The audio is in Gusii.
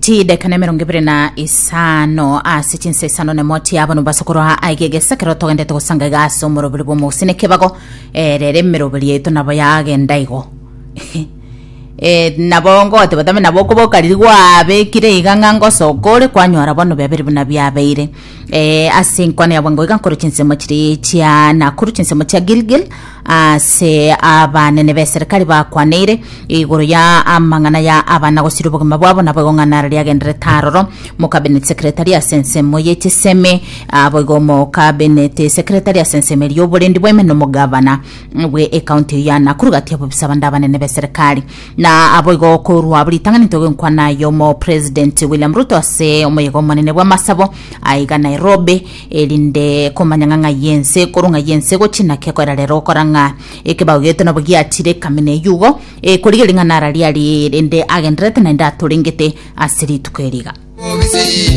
Chideka na emerongo ebere na isano ase chinsa isano nemo chiabo nobaso korwa aiga egesa ekero togendete gosanga iga ase omoroberi bw'omogusii na ekebago eh, rero emeroberi yaito nabo yagenda igo Eh, nabo ngoteba tame nabo okoboka riria gwabekire iga ng'a ngosoka ore kwanyora bono biabeire buna biabeire eh, ase enkwana ya bwango iga nkore chinsemo chiria chia Nakuru chinsemo chia Gilgil Ase abanene b'eserekari bakwaneire igoro ya amang'ana ya abana gosiria obogima bwabo naboigo ng'a naro riagenderete aroro. Mokabinet secretary ase ensemo ye chisemi aboigo omokabinet secretary ase ensemo eria y'oborendi bwa ime na omogavana bwe ecounty eyio ya Nakuru gati y'abobisa bande abanene b'eserekari. Na aboigo korwa abwo ritang'ani ntoge nkwana y'omo president William Ruto ase omoyega omonene bw'amasabo aiga Nairobi Erinde komanya ng'a ng'ai ense ekorwa, ng'ai ense egochia, naki ekoera rero gokora ng'a ekebao giaito nabo giachire ekamina eyio igo, ekorigereria ng'a nara riari rende agendererete naende atorengete ase rituko eri iga.